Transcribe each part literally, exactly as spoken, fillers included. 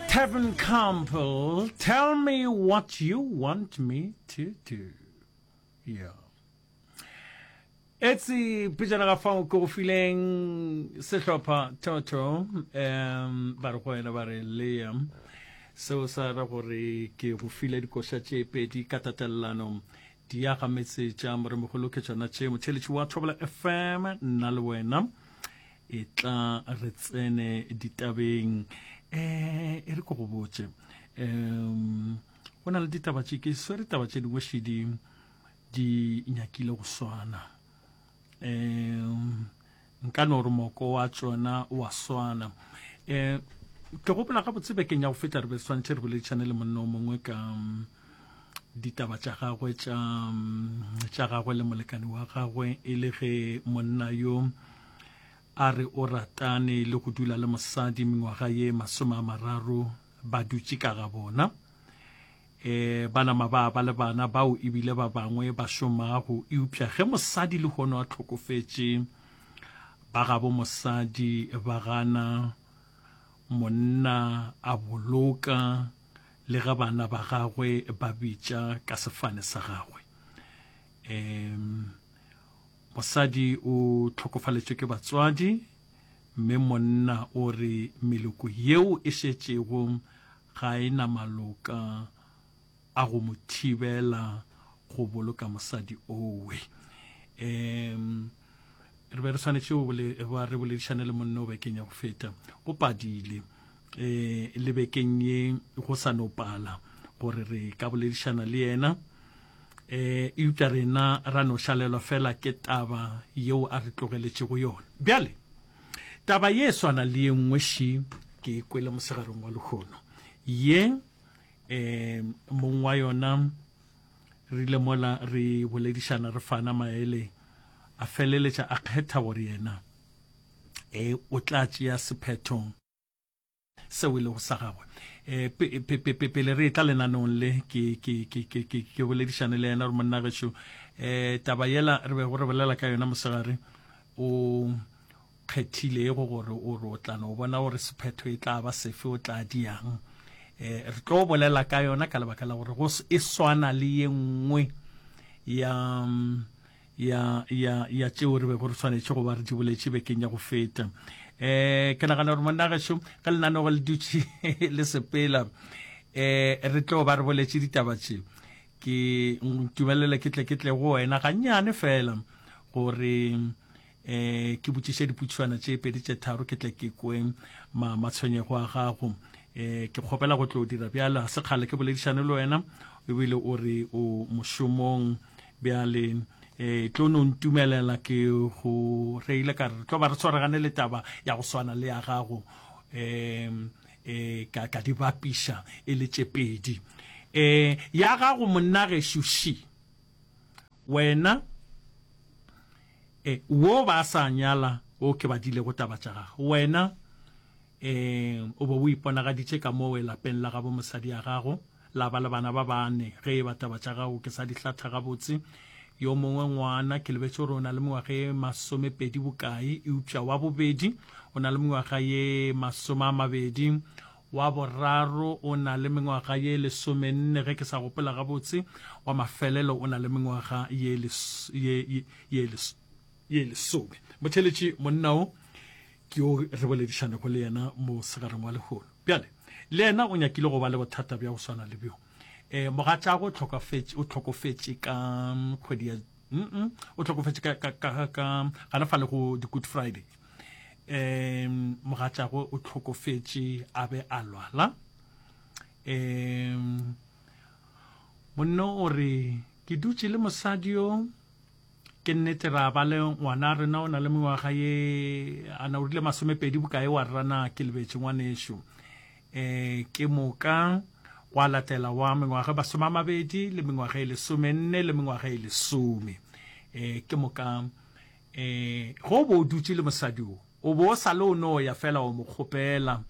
Tevin Campbell, tell me what you want me to do. Yeah. Etse pejana ga fao ke go fileng sehlopha Toto um ba re go wena ba re Liam seo sa ra gore ke go file dikoša tše pedi ka tatelelano di aga metse tša moremogolo ke tšona tše motheletši wa Thobela FM nna le wena e tla re tsene ditabeng eh e re ko go botše um go na le ditaba tše ke swere taba tše dingwe šedi di nyakile go swana um nka no re moko wa tšona wa swana um ke gopola gabotse bekeng ya go feta re be swantšhe re boledišane le monna o mongwe ka um, ditaba tša gagwe tša um, tša gagwe le molekane wa gagwe e le ge monna yo a re o ratane le go dula le mosadi mengwaga ye masome a mararo ba dutše ka ga bona eh ba nama ba ba le bana bao ebile ba bangwe ba šomago eupša ge mosadi le hono a tlhokofetše ba gabo mosadi ba gana monna a boloka le ge bana ba gagwe ba bitša ka sefane sa gagwe um mosadi o tlhokofaletšwe ke batswadi mme monna o re meloko yeo e šetšego ga e na maloka a go mo thibela go boloka mosadi owe um re be re swanetše go ba re boledišane le monna o bekeng ya go feta go padile um le bekeng ye go sa no pala gore re ka boledišana le yena um eupša rena ra no šalelwa fela ke taba yeo a re tlogeletšego yona bjale taba ye e swana le ye nngwe ši ke e kwele mosegareng wa lehono ye um mong wa yona re ile mola re boledišana re fana maele a feleletša a kgetha gore yena e o tla tšea sephetho seo e lego sa gagwe um pele re tla lenaneong le ke ke ke ke ke ke boledišane le yena gore monna gešo um taba yela re bego re bolela ka yona mosegare o kgethilego gore o re o tla no bona gore sephetho e tla ba sefe o tla diang eh re tlo bolela ka yona ka lebaka la gore go e swana le ye nngwe ya ya ya ya tšeo re bego re swanetše go ba re di boletše bekeng ya go feta eh ke nagana gore monna gešo ge lenanego le dutše le sepela eh re tlo ba re boletše ditaba tše ke ntumelele ke tle ke tle go wena gannyane fela gore eh ke botšiše dipotšišwana tše pedi tše tharo ke tle ke kwe ma matshwenyego a gago eh ke kgopela go tlo dira bjale ga se kgale ke boledišane le wena ebile o re o mošomong bjale eh tlo no ntumelela ke go reile ka re tlo ba re tshwaragane le taba ya go swana le ya gago um eh ka ka di bapiša e le tše pedi eh ya gago monna gešo ši wena eh wo ba sa nyala o ke badilego taba tša gago wena eh o bo o iponagaditše ka moo lapeng la gabo mosadi ya gago la ba le bana ba bane ge e ba taba tša gago ke sa di hlatha gabotse yo mongwe ngwana ke lebetše gore o na le mengwaga ye masomepedi bokae eupša wa bobedi o na le mengwaga ye masome a mabedi wa boraro o na le mengwaga ye lesomenne ge ke sa gopola gabotse wa mafelelo o na le mengwaga ye ye ye ye lesome motheletši monna o ke yo re boledišanego le yena mo segareng wa lehono bjale le yena o nyakile go ba le bothata bja go swana le bjo eh mogatšago o hlokofetše o hlokofetše ka kgwedi ya mm o hlokofetše ka ka ka ka gana fa le go di Good Friday um mogatšago o hlokofetše a be a lwala um monna o re ke dutše le mosadi yo ke nnete ra ba le ngwana rena o na le mengwaga ye a na o rile masomepedi bokae wa rana ke lebetše ngwanešo eh ke moka gwa latela wa mengwaga masome a mabedi le mengwaga e lesomenne le mengwaga e lesome eh ke moka eh go bo o dutše le mosadi o o bo o sa le o no ya fela o mo kgopela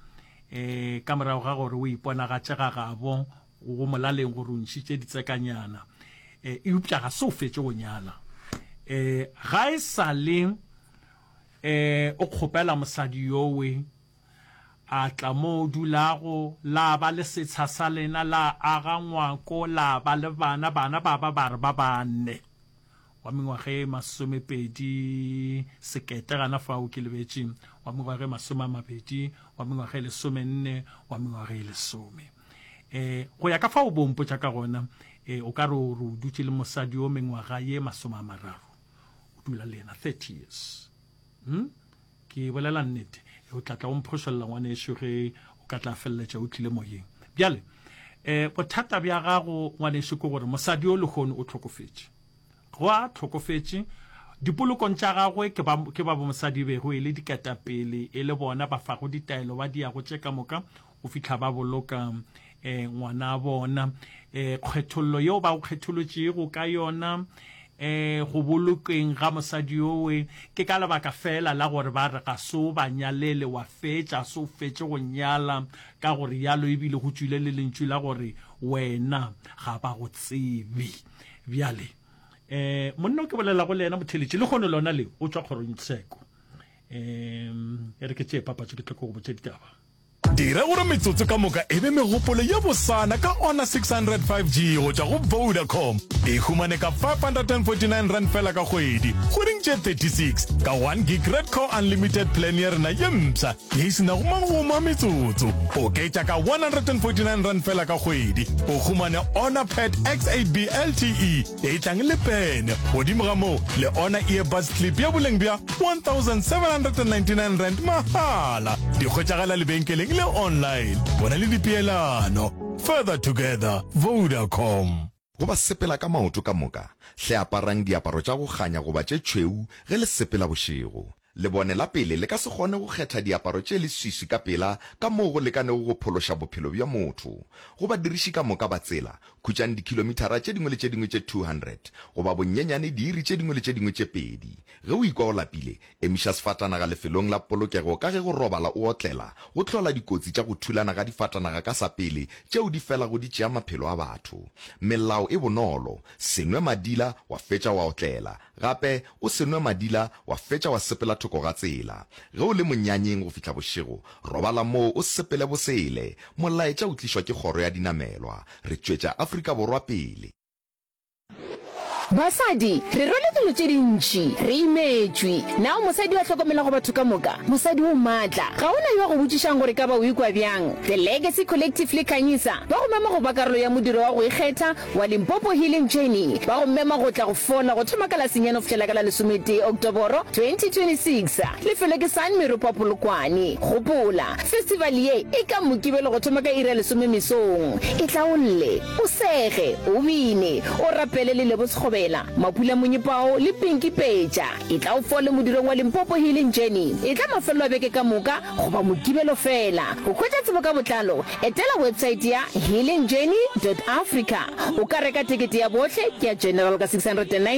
eh ka morago ga gore o iponagatše ga gabo go molaleng gore o ntšhitše ditsekanyana eh eupša ga se o fetše go nyala eh ga e sa le eh o kgopela mosadi yowe A tla mo o dulago, la ba le setsha sa lena, la aga ngwako, la ba le bana, bana ba ba ba re ba bane. Wa mengwaga e masomepedi sekete gana fao ke lebetše, wa mengwaga e masome a mabedi, wa mengwaga e lesomenne, wa mengwaga e lesome. E, go ya ka fao bo mpotša ka gona, e, o ka re o re o dutše le mosadi yo mengwaga ye masome a mararo, o dula le yena thirty years. Hmm? Ke bolela nnete. O tla tla o mphošolla ngwanešu ge o ka tla feleletša o tlile moyeng. Bjale, eh, bothata bja gago ngwanešu ke gore mosadi yo lehono o hlokofetše. Go a hlokofetše, dipolokong tša gagwe ke ba, ke ba bomosadi e bego e le diketapele, e le bona ba fago ditaelo, ba diago tše ka moka go fihla ba boloka eh, ngwana bona. Eh, kgethollo yeo ba go kgetholotšego ka yona eh, go bolokeng ga mosadi yowe ke ka lebaka fela la gore ba re ga se o ba nyalele, wa fetša, se o fetše go nyala, ka gore yalo ebile go tšwile le lentšu la gore wena ga ba go tsebe. Bjale eh, monna o ke bolelago le yena motheletši lehono lona le o tšwa kgorongtsheko. Um e re ke tšee papatšo ke tle ke go botše ditaba. Dira gore metsotso ka moka e be megopolo ye bosana ka Honor six hundred five G go tšwa go Vodacom. E humane ka five hundred and forty nine rand fela ka kgwedi, kgweding tše thirty six, ka one gig Redco Unlimited plan ya rena ye mpsha ye e se nago magomo a metsotso. Oketša ka one hundred and forty nine rand fela ka kgwedi, o humane Honor Pad X eight B L T E e tlang le pene, godimo ga moo le Honor Earbuds Clip ya boleng bja one thousand seven hundred and ninety nine rand mahala. Di hwetšagala lebenkeleng le online. Bona le dipeelano. Further together, Vodacom. Go ba sepela ka maoto ka moka, hle aparang diaparo tša go kganya goba tše tšhweu ge le sepela bošego. Lebone la pele le ka se kgone go kgetha diaparo tše leswiswi ka pela ka moo go lekanego go phološa bophelo bja motho. Go badiriši ka moka ba tsela, khutšang dikhilomithara tše dingwe le tše dingwe tše two hundred goba bonyenyane diiri tše dingwe le tše dingwe tše pedi. Ge o ikwa o lapile, emiša sefatanaga lefelong la polokego ka ge go robala o otlela go hlola dikotsi tša go thulana ga difatanaga ka sa pele tšeo di felago di tšea maphelo a batho. Melao e bonolo, se nwe madila wa fetša wa otlela. Gape, o se nwe madila wa fetša wa sepela thoko ga tsela. Ge o le monyanyeng go fihla bošego, robala moo o sepele bosele. Molaetša o tlišwa ke Kgoro ya Dinamelwa. Re tšwetša Afrika Borwa pele. Basadi, re rwele dilo tše dintši. Re imetšwe. Na o mosadi yo a hlokomelago batho ka moka? Mosadi o matla. Ga o na yo a go botšišang gore ka ba o ikwa bjang. The Legacy Collective le Khanyisa ba go mema go ba karolo ya modiro wa go ikgetha wa Limpopo Healing Journey. Ba go mema go tla go fola go thoma ka la senyane go fihlela ka la lesometee Oktoboro twenty twenty-six. Lefelo ke San Meropa Polokwane. Gopola, festival ye e ka Mokibelo go thoma ka iri ya lesome mesong. Etla o lle, o sege, o bine, o rapele le Lebo Sekgobela, Mapula Monyepao le Pinky Petša. Etla o fole modirong wa Limpopo Healing Journey. Etla mafelelo a beke ka moka goba Mokibelo feela. Go hwetša tsebo ka botlalo, etela websaete ya healingjourney dot africa. O ka reka tekete ya bohle ke ya general ka six hundred and